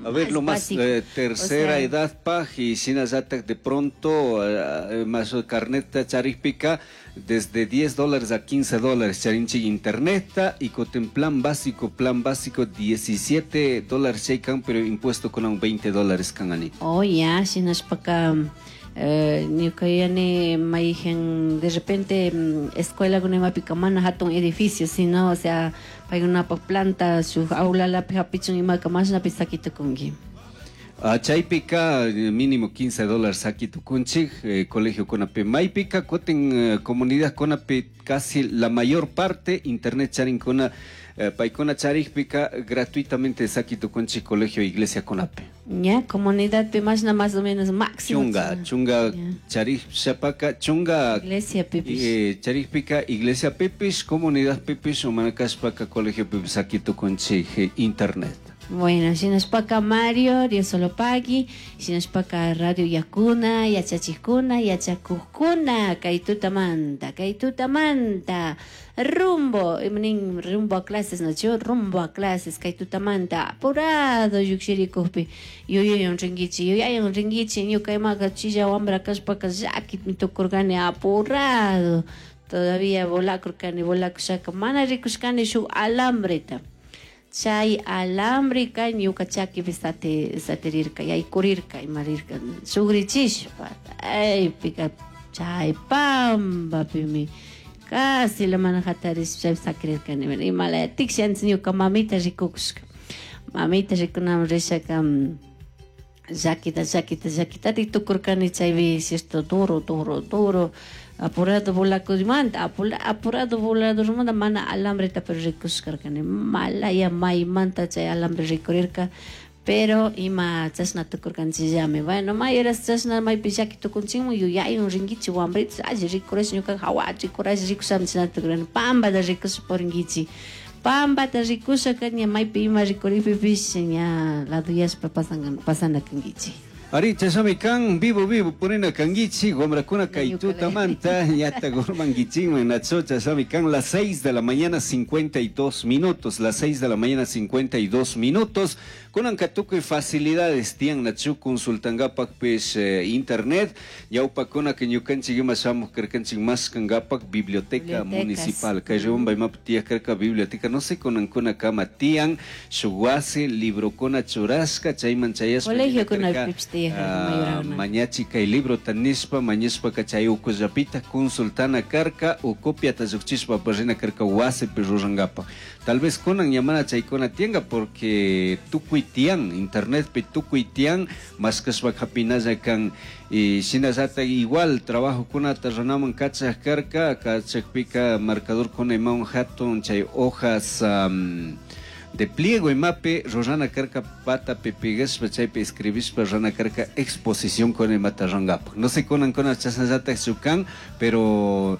A ver, lo más básico. Tercera O sea, edad paj y shinallatak de pronto más carnet charikpika desde $10 a $15 charinchik internet y con plan básico $17 chaykan, pero impuesto con un $20 kan, Anita. Oh, ya, shinashpaka ñuka yuyani mayjan de repente escuela kunimapika mana hatun edificio, sino, o sea, paykunapak planta shuk aulalapi hapichun imaka mashnapi sakitukunki. Ah, chaypika mínimo $15 sakitukunchik colegio kunapi. Maypika kutin comunidad kunapi casi la mayor parte internet charinkuna, paykuna charikpika gratuitamente sakitukunchik colegio iglesia kunapi. Ya, comunidad mashna más o menos máximo. Chunga charik shapaka chunga Iglesia pipish. Charikpika iglesia pipish, comunidad pipish, o mana kashpaka colegio pipish sakitukunchik internet. Bueno, shinashpaka Mario, Dios solo pagui, shinashpaka Radio Yakuna, yachachikuna, yachakukuna, kay tutamanta, kay tutamanta, rumbo, nin rumbo a clases, no, yo rumbo a clases, kay tutamanta, apurado llukshirikukpi, yuyayon rinkichi, yuyayon rinkichi, ñuka imaka chilla wambra kashpaka llaki tukurkani apurado, todavía volakurkani, volakushaka, mana rikushkani shuk alambreta. Chay alambreka ñuka chakipi satirirka, yaykurirka, imarirka, sugrichishpa, aypika chay pampapimi casi la mana hatarish chaypi sakirirkani. Imalaya tiksha antes ñuka mamita rikukushka, mamita rikunaman rishaka, llakita, llakita, llakitatik tukurkani chaypi, cierto, duro, duro, duro, apurado volakusmanta, apurado voladormanta mana alambreta pero rikushkarkani, malaya maymanta chay alambre rikurirka, pero ima chashna tukurkanchikllami. Bueno, may horas chashna maypi llaki tukunchikman yuyaywan rinkichik wambritos alli rikurash ñuka jawa rikurash rikushami chashna tukurkani, pambata rikusha purinkichik, pambata rikushaka ña maypi ima rikurikpipish ña laduyashpa pasan pasana kankichik. Ari, chashami kan, vivo vivo purina kankichik, wambrakuna kay tutamanta, ñata urmankichikman, nacho, chashami kan, las 6 de la mañana 52 minutos, las 6 de la mañana 52 minutos, kunanka tukuy facilidades tiyan, nachu, consultankapakpish internet, ñawpakuna que ñukanchik ima shamuj karkanchik mashkankapak biblioteca Bibliotecas. Municipal, kay Riobamba imapi tiyaj karka biblioteca, no sé kunankuna kama tiyan, shuk wasi, librokuna churashka, chayman chayashpa Colegio karka, kunapipish tiyaj mayorakuna. Mañachi kay librota nishpa, mañashpaka chay ukullapita consultana karka o copiata llukchishpa rina karka wasipi rurankapak. Tal vez kunan ña mana chaykuna tiyanka porque tukuy tiyan, internetpi tukuy tiyan, mashkashpa hapinalla kan. Y shinallatak igual trabajokunata runaman kachak karka, kachakpika marcador kuna imawan hatun chay hojas de pliego imapi rurana karka patapi pigashpa chaypi escribishpa rurana karka exposición con imata rurankapak. No sé kunan kuna chashnallatak kan, pero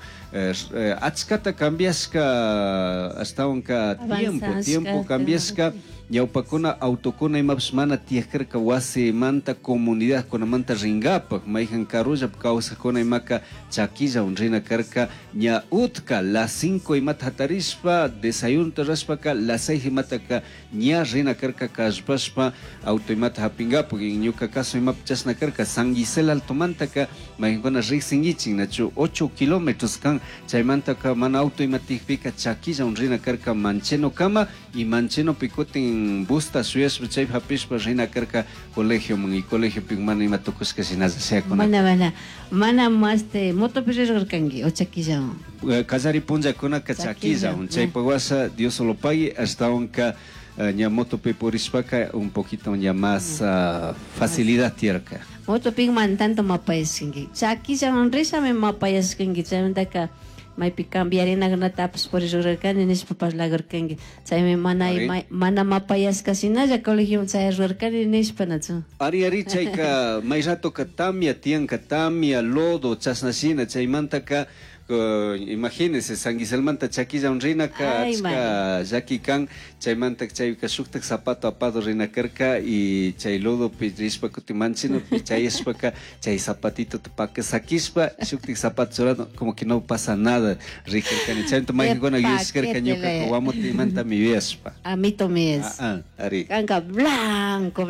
achkata cambiashka ashtawanka tiempo, Avanzashka, tiempo cambiashka, ñawpakuna autokuna imapish mana tiyaj karka wasimanta comunidad kunamanta rinkapak, mayjan karullapi kawsakuna imaka chakillawan rina karka ña utka las 5 imata hatarishpa desayunota rurashpaka las 6 imataka ña rina karka kallpashpa auto imata hapinkapak. Y ñuka caso imapi chashna karka San Gisela Altomantaka mayjankuna riksinkichik nachu 8 kilómetros kan, chaymantaka mana auto ima tiyakpika chakillawan rina karka Mancheno kama y Manchenopi kutin busta shuyashpa chaypi hapishpa rina karka colegioman y colegiopi mana ima tukushka shinalla shayakuna. Mana, mana, mana este motopi rirkanki o chakillawan? Kallari punllakunaka Chakillawan, chakillawan, chaypa washa Dios solo pague ashtawanka ña motopi purishpaka un poquito ña más facilidad tiyarka. Motopi man tanto mapayashkanki, chakillawan rishami mapayashkanki, chaymantaka maypi cambiarinakunatapish purirurarkani nishpa parlakurkanki, chaymi mana Ari. mana mapayashka shinalla colegioman chayarurarkani nishpa, nachu? Ari, chayka may ratoka tamia tiyanka, tamia, lodo, chashna shina, chaymantaka imagínese San Giselmanta chakillawan rinaka Ay, achka mana. llaki kan, chaymanta chayka shuktak zapato apado rina karka y chay lodopi rishpa kutin Manchenopi chayashpaka chay zapatito paka sakishpa shuktik zapato churado como que no pasa nada rikarkani, chaymanta maykankuna yuyashkarka ñuka paquete wamutimanta mi yuyashpa. Amito mi es. Ah, ah, ari. Kanka blanco.